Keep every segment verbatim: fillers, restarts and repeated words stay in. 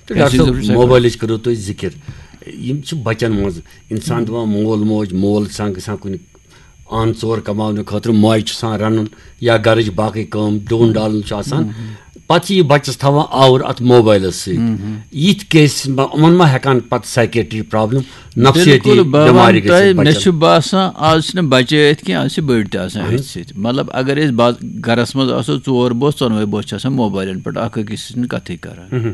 تہٕ ڈاکٹر صٲب، موبایلٕچ کٔرٕو تُہۍ ذِکِر۔ یِم چھِ بَچَن منٛز، اِنسان دَپان، مول موج، مول چھُ آسان گژھان کُنہِ آن ژور کَماونہٕ خٲطرٕ، ماجہِ چھُ آسان رَنُن یا گَرٕچ باقٕے کٲم، ڈوٗن ڈالُن چھُ آسان۔ پَتہٕ چھِ یہِ بَچَس تھاوان آوُر اَتھ موبایلَس سۭتۍ۔ یِتھ کیسَس منٛز یِمَن ما ہٮ۪کان پَتہٕ سایکیٹری پرابلم، نفسیٲتی بِلکُل، بہٕ بٮ۪مارِ وَنہٕ گٔژھِتھ تۄہہِ، مےٚ بَچَن؟ چھُ باسان، آز چھِنہٕ بَچے أتھۍ کینٛہہ، آز چھِ بٔڑۍ تہِ آسان اہن۔ أتھۍ سۭتۍ۔ مطلب، اگر أسۍ باز-، گَرَس منٛز آسو، ژور بٲژ، ژۄنوَے بٲژ چھِ آسان موبایلَن پٮ۪ٹھ اَکھ أکِس سۭتۍ کَتھٕے کَران۔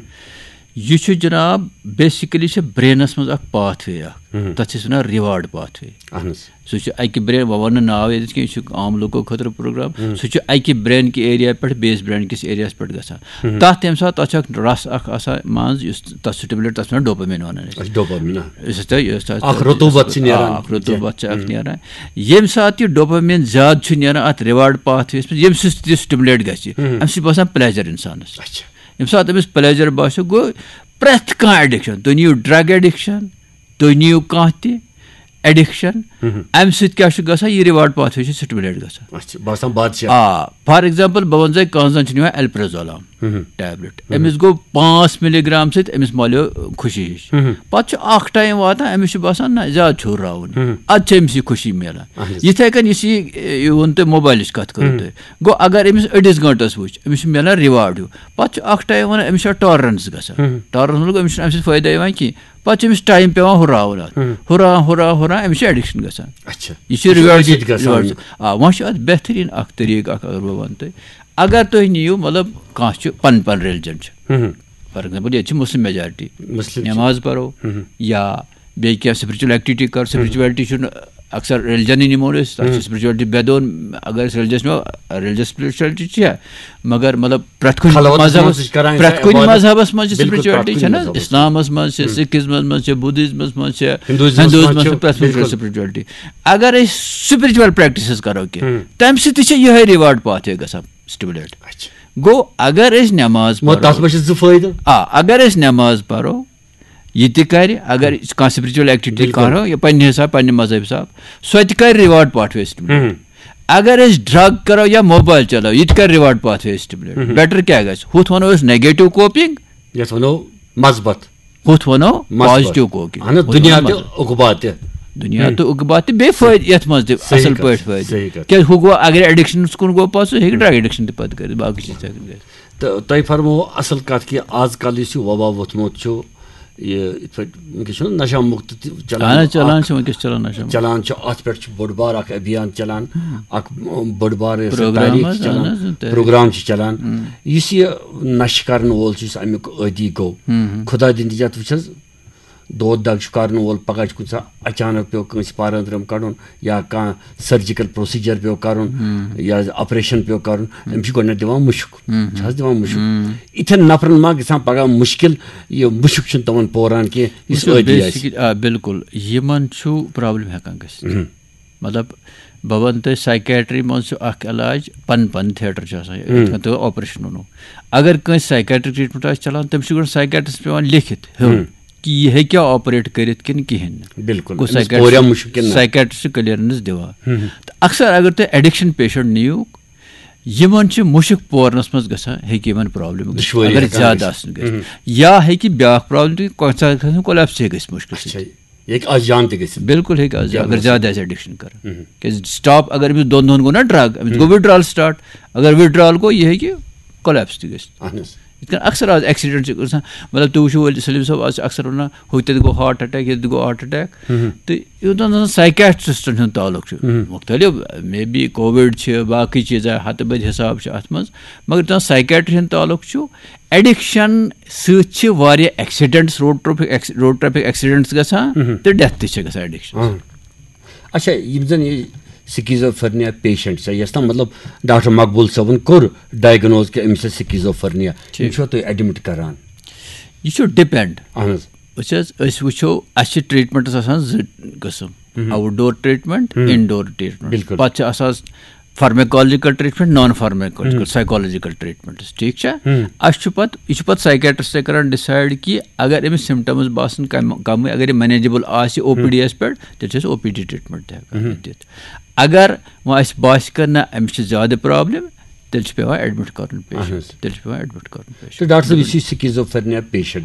یہِ چھُ جناب، بیسِکٔلی چھِ برٛینَس منٛز اَکھ پاتھ وے اَکھ، تَتھ چھِ أسۍ وَنان ریوارڈ پاتھ وے۔ اہن حظ۔ سُہ چھُ اَکہِ برٛین، وۄنۍ وَنہٕ نہٕ ناو ییٚتہِ کینٛہہ، یہِ چھُ عام لُکو خٲطرٕ پروگرام۔ سُہ چھُ اَکہِ برٛین کہِ ایریا پٮ۪ٹھ بیٚیِس برٛین کِس ایریاہَس پٮ۪ٹھ گژھان۔ تَتھ تَمہِ ساتہٕ، تَتھ چھُ اَکھ رَس اَکھ آسان منٛز، یُس تَتھ سٹیمولیٹ، تَتھ چھِ وَنان ڈوپامین وَنان أسۍ۔ اچھا، ڈوپامین، آ۔ یُس تۄہہِ، یُس تۄہہِ اَکھ رطوٗبت چھِ نیران۔ آ، اَکھ رطوٗبت چھِ اَکھ نیران۔ ییٚمہِ ساتہٕ یہِ ڈوپامین زیادٕ چھُ نیران اَتھ ریوارڈ پاتھ ویَس منٛز، ییٚمہِ سۭتۍ تہِ سٹیمولیٹ گژھِ، اَمہِ سۭتۍ چھُ باسان پلیجر اِنسانَس۔ اچھا۔ ییٚمہِ ساتہٕ أمِس پلیجر باسیو، گوٚو پرٛٮ۪تھ کانٛہہ ایڈکشن، تُہۍ نِیِو ڈرگ ایڈکشن، تُہۍ نِیِو کانٛہہ تہِ ایڈکشن، اَمہِ سۭتۍ کیٛاہ چھُ گژھان؟ یہِ ریوارڈ پاتھ وے چھُ سٹیمولیٹ گژھان۔ اچھا، باسان بادشاہ۔ آ، فار ایگزامپل، بہٕ وَنہٕ تۄہہِ، کانٛہہ زَن چھُ نِوان الپرازولام ٹیبلٹ، أمِس گوٚو پانٛژھ مِلی گرام سۭتۍ، أمِس مۄلیو خوشی ہِش۔ پَتہٕ چھُ اَکھ ٹایم واتان، أمِس چھُ باسان، نہ، زیادٕ چھُ ہُراوُن۔ اَدٕ چھِ أمِس یہِ خوشی میلان۔ اہن حظ۔ یِتھَے کٔنۍ یُس یہِ، یہِ ووٚن تۄہہِ، موبایلٕچ کَتھ کٔرٕو تۄہہِ، گوٚو اگر أمِس أڑِس گٲنٛٹَس وٕچھ، أمِس چھُ میلان ریوارڈ ہیوٗ۔ پَتہٕ چھُ اَکھ ٹایم وَنان، أمِس چھُ ٹالرنس گژھان۔ ٹالرنس مطلب، أمِس چھُنہٕ اَمہِ سۭتۍ فٲیدٕ یِوان کینٛہہ۔ پَتہٕ چھُ أمِس ٹایم پٮ۪وان ہُراوُن اَتھ۔ ہُراوان، ہُراوان، ہُراوان، أمِس چھُ ایڈکشن گژھان۔ اچھا۔ یہِ چھُ یہِ چھُ ریوارڈ، أزِتھ گژھان۔ ریوارڈ۔ آ، وۄنۍ چھُ اَتھ بہتریٖن اَکھ طریٖقہٕ اَکھ، اگر بہٕ وَنہٕ تۄہہِ، اگر تُہۍ نِیِو، مطلب، کانٛہہ چھُ پَنُن پَنُن ریلجن چھُ۔ فار ایگزامپل، ییٚتہِ چھِ مُسلِم میجارٹی۔ مُسلِم چھِ۔ نٮ۪ماز پَرو یا بیٚیہِ کینٛہہ سپرچل ایکٹیویٹی کَرو، سپرچویلٹی چھُنہٕ اکثر ریلجنٕے نِمو نہٕ أسۍ، تَتھ چھِ سپرچویلٹی بے دون، اگر أسۍ ریلجس نِمو، ریلجس سپرچویلٹی چھِ، مگر مطلب پرٛٮ۪تھ کُنہِ خلوتس منٛز مذہبس، چھِ کران أسۍ پرٛٮ۪تھ کُنہِ عبادت۔ مذہبس منٛز چھِ بِلکُل، پرٛٮ۪تھ سپرچویلٹی کُنہِ چھَنہٕ حظ؟ مذہبس منٛز۔ اِسلامس منٛز چھِ، سِکھزمس منٛز چھِ، بُدھزمس منٛز چھِ، بِلکُل۔ اگر أسۍ سپرچویل پریکٹسز کرو کینٛہہ، تَمہِ سۭتۍ تہِ چھِ یِہے ریوارڈ پاتھ گژھان سٹیمولیٹ۔ اچھا۔ گوٚو، اگر أسۍ نٮ۪ماز مگر پرو، تَتھ منٛز چھِ زٕ فٲیدٕ۔ آ، اگر أسۍ نٮ۪ماز پرو، یہِ تہِ کرِ، اگر کانٛہہ سپرچویل ایکٹیویٹی بِلکُل۔ کرو، یہِ پننہِ حساب، پننہِ مذہب حساب، سۄ تہِ کرِ ریوارڈ پاتھ وے سٹیمولیٹ۔ اگر أسۍ ڈرگ کرو یا موبایل چلاو، یہِ تہِ کرِ ریوارڈ پاتھ وے سٹیمولیٹ۔ بیٹر کیٛاہ گژھِ؟ ہُتھ ونو أسۍ نیگیٹو کوپنگ۔ یَتھ ونو مثبت۔ ہُتھ ونو مثبت۔ Positive coping. اہن حظ، ہُتھ دُنیا ونو تہِ مثبت۔ عقبہ تہِ۔ دُنیا تہٕ عقبہ تہِ، بیٚیہِ فٲیدٕ یتھ منٛز تہِ، صحیح اصل کتھ، پٲٹھۍ فٲیدٕ۔ صحیح کتھ۔ کیٛازِ ہُہ گوٚو، اگر ایڈکشنس کُن گوٚو پتہٕ، سُہ ہیٚکہِ ڈرگ ایڈکشن تہِ پتہٕ کٔرِتھ، باقٕے چیٖز تہِ ہیٚکہِ گٔژھِتھ۔ تہٕ تۄہہِ فرموو اصل کتھ کہِ آز کل یُس یہِ وبا ووٚتھمُت چھُ، یہِ یِتھ پٲٹھۍ وٕنکیٚس چھُنہٕ نشہ مُکت تہِ چلان، اہن حظ، چلان اکھ چھُ وٕنکیٚس، چلان نشہ مُکت۔ چلان چھُ، اتھ پٮ۪ٹھ چھُ بوٚڑ بار اکھ ابھیان چلان، اکھ بوٚڑ بار یۄس پروگرام تحریک حظ، چھِ چلان، اہن حظ، تحریک۔ پروگرام چھِ چلان۔ یُس یہِ نشہٕ کرن وول چھُ، یُس امیُک عٲدی گوٚو، خدا دِنۍ تہِ یتھ وٕچھ حظ، دود دگ چھُ کرن وول، پگاہ چھُ کُنہِ ساتہٕ اچانک پیوٚو کٲنٛسہِ پارن ترٛم کڑُن، یا کانٛہہ سرجیکل پروسیجر پیوٚو کرُن، یا آپریشن پیوٚو کرُن، أمِس چھُ گۄڈٕنٮ۪تھ دِوان مُشُک۔ چھِ حظ دِوان مُشُک؟ یِتھٮ۪ن نفرن ما گژھان پگاہ مُشکل، یہِ مُشُک چھُنہٕ تِمن پوران کینٛہہ، یُس وٕچھِو، عٲدی آسہِ۔ بیسکلی، آ، بِلکُل، یِمن چھُ پرابلم ہٮ۪کان گٔژھِتھ۔ مطلب، بہٕ وَنہٕ تۄہہِ، سایکیٹری منٛز چھُ اکھ علاج، پن پن تھیٹر چھُ آسان، یِتھ کٔنۍ تۄہہِ آپریشن ووٚنوُ۔ اگر کٲنٛسہِ سایکیٹرک ٹریٹمنٹ آسہِ چلان، تٔمِس چھُ گۄڈٕ سایکیٹرس پٮ۪وان لیکھِتھ ہیوٚن کہِ یہِ ہیٚکیٛاہ آپریٹ کٔرِتھ کِنہٕ کِہیٖنۍ نہٕ۔ بِلکُل، گوٚو أمِس سایکیٹرس، پوریا مُشُک کِنہٕ نہ؟ سایکیٹرس چھُ کلیئرنس دِوان۔ تہٕ اکثر اگر تُہۍ ایڈکشن پیشنٹ نِیِو، یِمن چھِ مُشُک پورنس منٛز گژھان، ہیٚکہِ یِمن پرابلم گٔژھِتھ، دُشوٲری اگر ہٮ۪کان زیادٕ گٔژھِتھ۔ آسن گٔژھِتھ۔ یا ہیٚکہِ بیٛاکھ پرابلم تہِ، کُنہِ ساتہٕ گژھِ کۄلیپس تہِ گٔژھِتھ مُشکِل اچھا، سۭتۍ۔ یہِ ہیٚکہِ از جان تہِ گٔژھِتھ۔ بِلکُل ہیٚکہِ از، اگر زیادٕ آسہِ ایڈکشن کران۔ کیازِ سٹاپ، اگر أمِس دۄن دۄہن گوٚو نا ڈرگ، أمِس گوٚو وِدڈرال سٹارٹ، اگر وِدڈرال گوٚو، یہِ ہیٚکہِ کۄلیپس تہِ گٔژھِتھ۔ اہن حظ۔ یِتھ کٔنۍ اکثر از ایکسیڈنٹ چھِ گژھان، مطلب تُہۍ وٕچھِو ؤلۍ سلیٖم صٲب، از چھِ اکثر ونان، ہُتہِ تہِ گوٚو ہارٹ اٹیک، ییٚتہِ تہِ گوٚو ہارٹ اٹیک۔ تہٕ یوٚتام زن سایکیٹرسٹن ہُنٛد تعلق چھُ، مُختٔلِف، مے بی کووِڈ چھِ، باقٕے چیٖز آے، ہتہٕ بٔدۍ حساب چھِ اتھ منٛز، مگر یوٚتام سایکیٹری ہُنٛد تعلق چھُ، ایڈکشن سۭتۍ چھِ واریاہ accidents, road traffic x-, road traffic accidents گژھان تہٕ ڈیتھ تہِ چھِ گژھان ایڈکشن سۭتۍ۔ اچھا، یِم زن یہِ سکیزوفرنیا پیشنٹ چھِ، یۄس تام مطلب ڈاکٹر مقبول صٲبن کوٚر ڈائگنوز کہِ أمِس چھِ سکیزوفرنیا، ٹھیٖک۔ یِم چھِوا تُہۍ ایڈمٹ کران؟ یہِ چھُ ڈِپینڈ۔ اہن حظ۔ وٕچھ حظ، أسۍ وٕچھو، اَسہِ چھِ ٹریٹمنٹس آسان زٕ قٕسم، آوُٹ ڈور ٹریٹمنٹ، ان ڈور ٹریٹمنٹ۔ بِلکُل۔ پتہٕ چھِ آسان فارمیکولوجیکل ٹریٹمنٹ، نان فارمیکولوجیکل، سائیکولوجیکل ٹریٹمنٹس، ٹھیٖک چھا؟ اَسہِ چھُ پتہٕ، یہِ چھُ پتہٕ سائیکیٹرسٹے کران ڈیسائیڈ کہِ اگر أمِس سمپٹمز باسن کم، کمٕے، اگر یہِ مینیجبل آسہِ او پی ڈی یس پٮ۪ٹھ، تیٚلہِ چھِ أسۍ او پی ڈی ٹریٹمنٹ تہِ ہٮ۪کان دِتھ۔ اگر وۄنۍ اَسہِ باسہِ کہِ نہ، أمِس چھِ زیادٕ پرابلم، تیٚلہِ چھُ پٮ۪وان ایڈمٹ کرُن پیشنٹ، اہن حظ۔ تیٚلہِ چھُ پٮ۪وان ایڈمٹ کرُن پیشنٹ۔ تہٕ ڈاکٹر صٲب، یُس یہِ سکیزوفرنیا پیشنٹ